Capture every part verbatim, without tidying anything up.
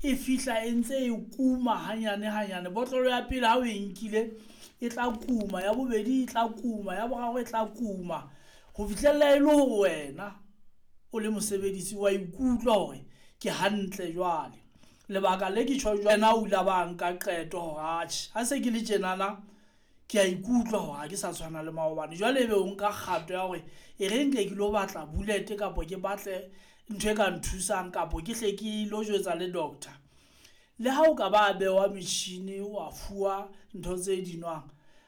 E fihla e ntse e kuma hanyane hanyane. Botlolo ya pele ha o e nkile e tla kuma, ya bobedi e tla kuma, ya boraro e tla kuma, ho fihlella e le hore wena o le mosebedisi wa ikutlwa hore ke hantle. Jwale lebaka le ke tjho jwena, o ile ba nka qeto hore atjhe, ha se ke le tjenana ke a ikutlwa hore ha ke sa tshwana le maobane. Jwale ebe o nka kgato ya hore e re nke ke lo batla bullet kapo ke batle ntho e ka nthusang, kapo ke hle ke lo jwetsa le doctor. Le ha o ka ba bewa metjhini, wa fuwa ntho tse di nwang,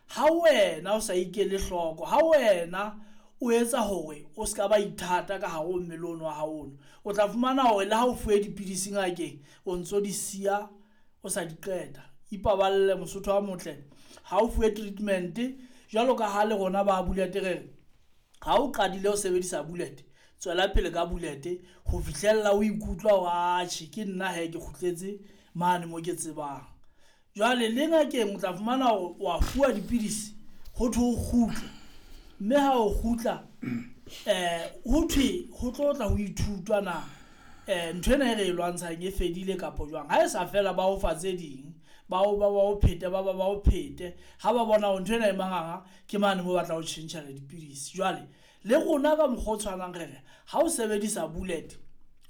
ha wena o sa ikele hloko, ha wena o etsa hore o ska ba ithata ka hare ho mmele ono wa hao ono, o tla fumana hore le ha o fuwe dipidisi ngakeng, o ntso di siya o sa di qeta. Ipaballe mosotho a motle, ha o fuwe treatment jwalo ka ha le rona ba bullet re re ha o qadile ho sebedisa bullet, tswela pele ka bullet ho fihlella o ikutlwa hore atjhe, ke nna he ke kgutletse mane mo ke tsebang. Jwale le ngakeng o tla fumana hore wa fuwa dipidisi, ho thwe o kgutle, mme ha o kgutla um ho thwe ho tlo tla ho ithutwa na um ntho ena e re e lwantshang e fedile kapo jwang. Ha e sa fela, ba o fa tse ding, ba o ba o phete, ba ba ba o phete, ha ba bona hore ntho ena e manganga, ke mane moo ba tla o tjhentjhela dipidisi. Jwale le rona ka mokgwa o tshwanang re re ha o sebedisa bullet,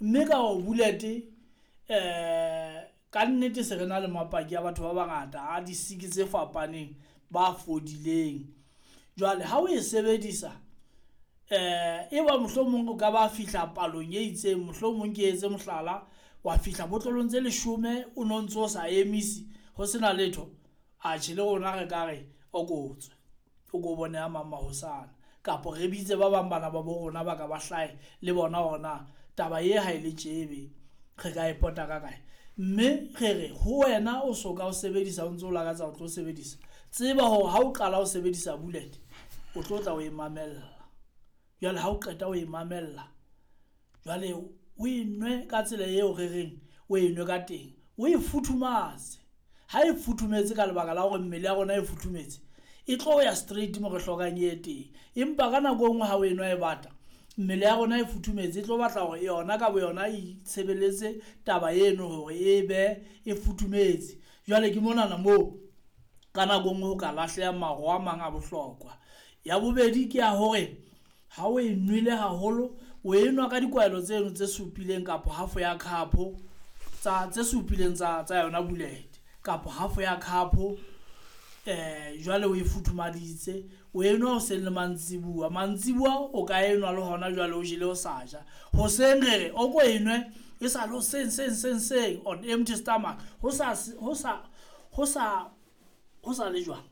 mme ka o bullet um ka nnete se re na le mapaki a batho ba bangata a disiki tse fapaneng ba fodileng. Jwale ha o e sebedisa eh e ba mohlomong o ka ba fihla palong e itseng, mohlomong ke etse mohlala, wa fihla botlolong tse leshome o no ntso o sa emise ho sena letho, atjhe le rona re ka re o ko tswe o ko bone a mang mahosana, kapo re bitse ba bang bana ba bo rona ba ka ba hlahe le bona hore na taba ye ha e le tjebe re ka e pota ka kae. Mme re re ho wena o soka o sebedisa, o ntso o lakatsa o tlo sebedisa, tseba hore ha o qala ho sebedisa bullet o tlo tla o e mamella. Jwale ha o qeta ho e mamella, jwale o e nwe ka tsela eo re reng o e nwe ka teng, o e futhumatse. Ha e futhumetse ka lebaka la hore mmele ya rona e futhumetse, e tlo ya straight mo re hlokang e teng. Empa ka nako e nngwe ha o e nwa e bata, mmele ya rona e futhumetse, e tlo batla hore yona ka boyona e itshebeletse taba eno hore e be e futhumetse. Jwale ke monana moo ka nako e nngwe ho ka lahleha maro a mang a bohlokwa. Ya bobedi ke ya hore ha o e nwele haholo, o e nwa ka dikwaelo tseno tse supileng kapo half ya cup tsa tse supileng tsa tsa yona bullet kapo half ya cup eh jwale o e futhumaditse, o e nwa hoseng le mantsibuya. Mantsibuya o ka enwa le hona jwale o jele o sa ja. Hoseng re re o ko e nwe e sa le hoseng seng seng seng on empty stomach, ho sa ho sa ho sa ho sa le jwang,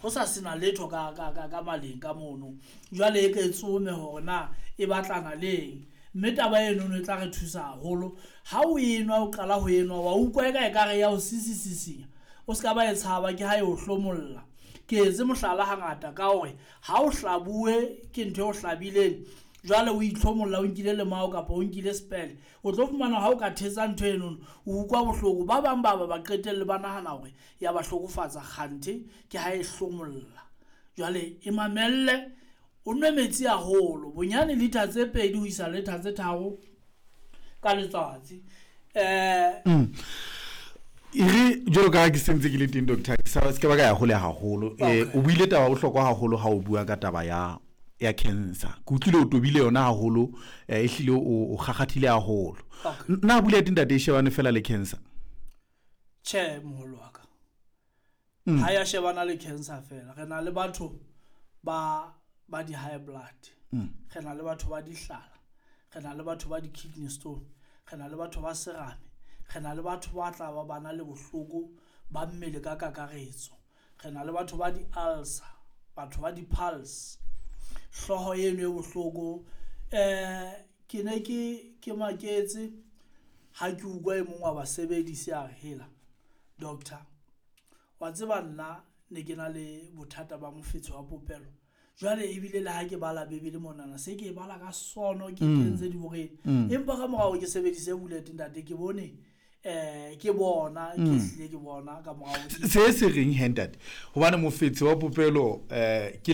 ho sa sena letho ka ka ka ka maleng ka mono. Jwale e ke tsome hore na e batlana leng, mme taba eno e tla re thusa haholo. Ha o enwa, o qala ho enwa, wa utlwa eka ekare ya o sisisisinya, o ska ba e tshaba, ke ha e o hlomolla. Ke etse mohlala hangata ka hore ha o hlabuwe ke ntho e o hlabileng, jwale o itlhomolla, o nkile lemao kapa o nkile spele, o tlo fumana ha o ka thetsa ntho eno o utlwa bohloko. Ba bang ba ba ba qetelle ba nahana hore ya ba hlokofatsa, kganthe ke ha e hlomolla. Jwale e mamelle, o nwe metsi haholo, bonyane liter tse pedi ho isa liter tse tharo ka letsatsi. Eh E re jwalo ka ha ke sentse ke le teng doctor, ke sa se ke ba ka ya hole haholo. Eh o buile taba bohlokwa haholo ha o bua ka taba ya ya cancer. Ke utlwile o tobile yona haholo, eh ehlile o o kgakgathile haholo. Na bullet ntate e shebane fela le cancer? Tjhe, moholo wa ka. Ha ya shebana le cancer fela. Re na le batho ba ba di high blood. Re na le batho ba dihlala. Re na le batho ba di kidney stone. Re na le batho ba serame. Re na le batho ba tla ba bana le bohloko ba mmele ka kakaretso. Re na le batho ba di ulcer, batho ba di pulse, hlooho eno e bohloko. Eh ke ne ke ke maketse ha ke utlwa e mong wa basebedisi a re, hela doctor, wa tseba nna ne ke na le bothata ba mofetshe wa popelo. Jwale ebile le ha ke bala Bibele monana, se ke e bala ka sono, ke kentse diboreng. Empa ka morao ke sebedise bullet ntate, ke bone eh ke bona, ke hlile ke bona ka morao. Se se reng he ntate, hobane mofetshe wa popelo eh ke